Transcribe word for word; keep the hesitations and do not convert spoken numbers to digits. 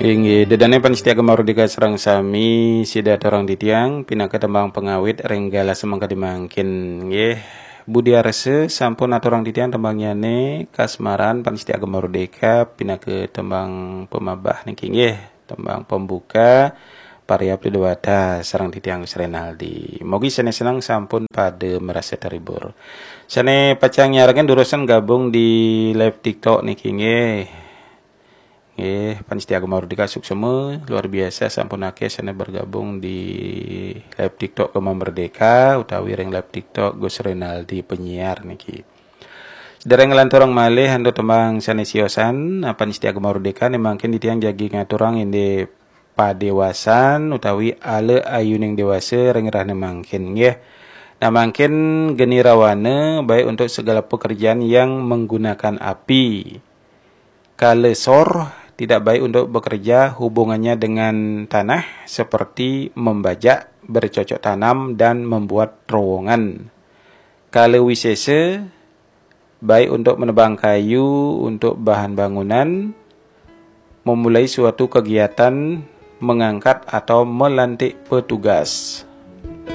Inggih, ida dané pamiarsa Gema Merdeka sareng sami, sida aturang titiang pinaka tembang pangawit ring galah semengkadi mangkin. Nggih, Budi Arsa sampun aturang titiang tembangnyané, Kasmaran pamiarsa Gema Merdeka pinaka tembang pamabah niki nggih, tembang pembuka, Pariapti Dewata sareng titiang Gus Renaldi. Mugi sané seneng sampun pada marasa terhibur. Sané pacang nyarengin durusang gabung di live TikTok niki nggih. Nggih, pamiarsa Gema Merdeka suksma, luar biasa sampun akéh sané bergabung di live TikTok Gema Merdeka utawi ring live TikTok Gus Renaldi penyiar niki. Sadéréng nglanturang malih antuk tembang sané siosan, pamiarsa Gema Merdeka, né mangkin titiang jagi ngaturang indik padéwasan utawi ala ayuning déwasa ring rahina mangkin nggih. Nah, mangkin geni rawana baik untuk segala pekerjaan yang menggunakan api. Kala sor tidak baik untuk bekerja hubungannya dengan tanah seperti membajak, bercocok tanam, dan membuat terowongan. Kala wisésa baik untuk menebang kayu untuk bahan bangunan, memulai suatu kegiatan, mengangkat atau melantik petugas.